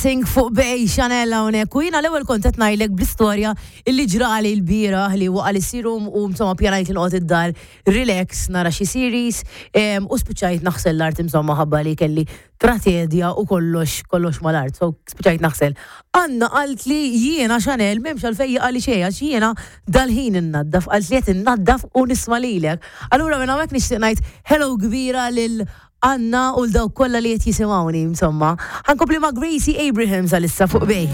Dancing fuq Bay Chanel hawnhekk u jiena l-ewwel kont qed ngħidlek bl-istorja illi ġrali l-bieraħ li waqa' li serum u insomma pjanajt li noqgħod id-dar relax nara xi series u spiċċajt naħsel l-art insomma ħabba li kelli tratedja u kollox kollox mal-art. So spiċċajt naħsel. Anna qalt li jiena Chanel m'hemmx għalfejn jaqali xejn għax jiena dal-ħin innaddaf qalt li qed innaddaf u nisma' lilek. Allura minn hawnhekk nixtieq ngħid hello kbira lil Anna u l-dawk kollha li qed jisimgħuni insomma. Ħankompli ma' Gracie Abrahams għalissa fuq Bay.